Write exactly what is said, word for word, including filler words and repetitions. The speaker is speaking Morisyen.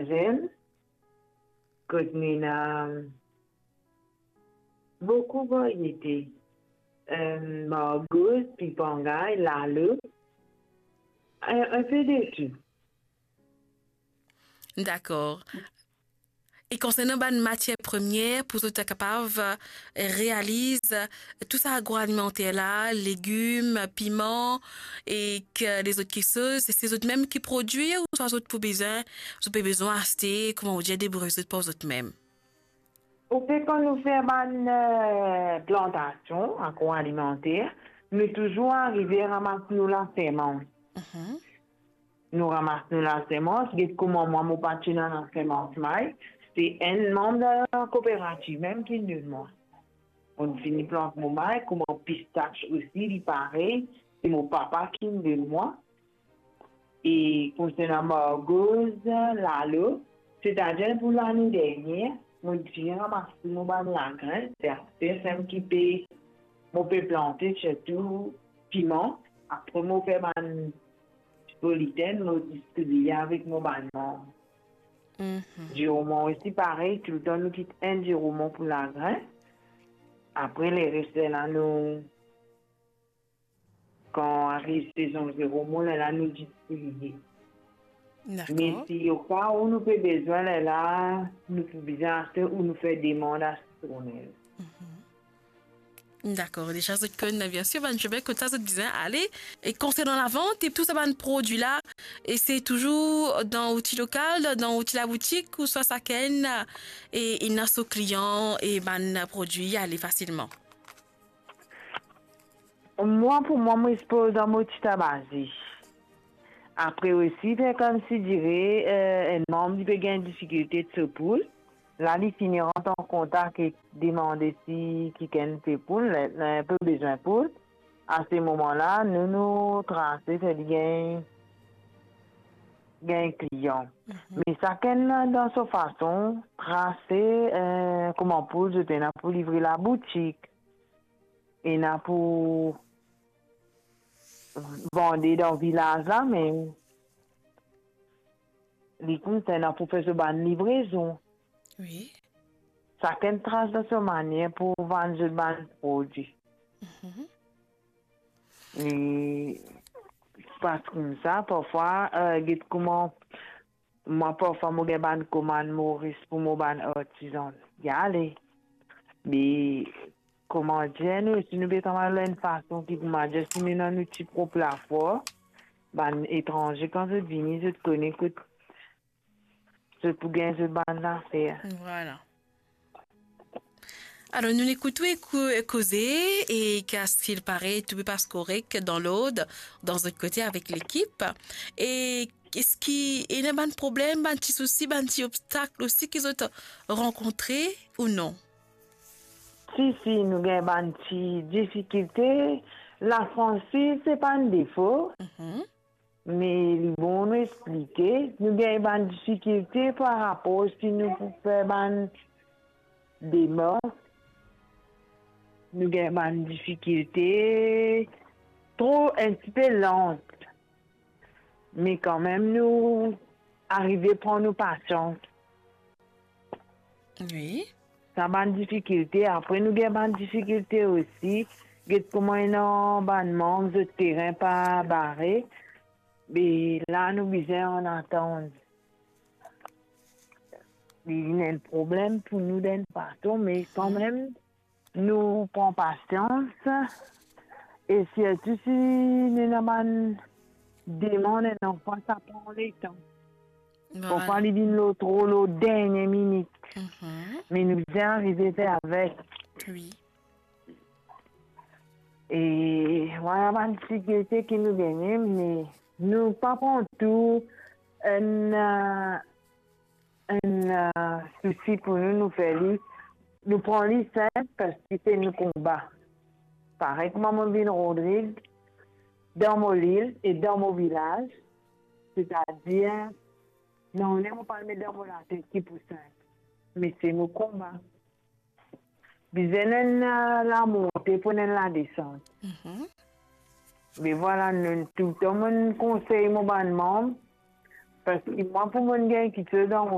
Zenn, kot nou ena boukou variete, eh, margoz, pipangay, lalo, eh, enpe de tou. Dakor. E konsernan bann matier premie pou zot kapav, eh, realiz, eh, tou sa agroalimenter la, legim, piman, ek lezot kiksoz, se zot mem ki prodwir ouswa zot pou bizin, zot pe bizin aste, kouma ou dir, debrouy zot par zot mem? Oke, kan nou fer bann, eh, plantasion agroalimenter, nou touzour arive ramas nou lasemans. Mhm. Nou ramas nou lasemans, get kouma mwa mo pa ti ena lasemans may, se enn manm dan kooperativ mem ki donn mwa. Mo'nn fini plant mo may, kouma pistas osi, li parey, se mo papa ki donn mwa. E konsernan margoz, lalo, setadir pou lane dernie, mo ti ramas mo bann lagrin, se aster seki mo pe plante, sirtou piman. Apre mo fer bann ti politen, mo distribie avek mo bann manm. Mhm. Diroman osi parey, toultan nou kit enn diroman pou lagrin. Apre leres la nou, kan ariv sezon diroman, lerla nou distribie. Dakor. Me si oka ou nou pe bizin, lerla nou pou bizin aste ou nou fer demann a sitronel. Mhm. Dakor, deza zot konn, biensir, bann sime kot sa zot bizin ale. E konsernan lavant e tou sa bann prodwi la, e se touzour dan ou ti lokal, dan ou ti laboutik, ouswa sakenn, e ena so klian e bann prodwi ale fasilman? Mwa, pou mwa, mo sipoz dan mo ti tabazi. Apre osi, fer koumsi dire, eh, enn manm li pe gagn difikilte de so poul. La, li fini rant an kontak ek demande si kikenn pe poul, li, li pe bizin poul. A se moman la, nou, nou trase, fer li gagn, gagn klian. Mhm. Me sakenn dan so fason, trase, eh, kouma poul zot ena pou livre laboutik. Ena pou vande dan vilaz la, me li konsernan pou fer so bann livrezon. Wi. Sakenn tras dan so manier pou vann zot bann prodwi. Mhm. E pas koumsa, parfwa, eh, get kouma mwa, parfwa mo gagn bann komann Moris pou mo bann artizan. Li ale. Me kouma dir, nou osi nou pe travay lor enn fason ki, kouma dir, si nou ena nou ti prop lafor, bann etranze, kan zot vini, zot kone kot zot pou gagn zot bann zafer. Vwala. Alor, nou ekout ou eko-, koze, e ki eski parey tou pe pas korek, dan lord, dan zot kote avek lekip? E eski ena bann problem, bann ti sousi, bann ti obstak osi ki zot rankontre ou non? Si, si, nou gagn bann ti difikilte. Lafransis, se pa enn defo. Mhm. Me li bon nou explike, nou gagn bann difikilte par rapor si nou pou fer bann demars, nou gagn bann difikilte, tro, enn tipe lant. Me kanmem, nou arive pran nou pasians. Wi. Sa bann difikilte, apre nou gagn bann difikilte osi. Get kouma ena bann manm, zot teren pa bare. Be la, nou bizin ann atann. Li vinn enn problem pou nou dan enn fason, me kanmem, nou pran pasians. E sirtou si nou ena bann demann, enn fwa sa pran letan. Vwala. Parfwa li vinn lor tro lor dernie minit. Mhm. Me nou bizin arive fer avek. Wi. E vwala bann difikilte ki nou gagne, me nou pa pran tou enn, eh, enn, eh, sousi pou nou, nou fer li, nou pran li sinp, parski se nou konba. Parey kouma mo vinn Rodrig, dan mo lil e dan mo vilaz, setadir, non, mo pa met dan mo latet ki pou sinp, me se mo konba. Bizin enn, eh, lamonte pou enn ladesant. Mhm. Me vwala, nou, toultan mo konsey mo bann manm, parski mwa, pou mo gagn kiksoz dan mo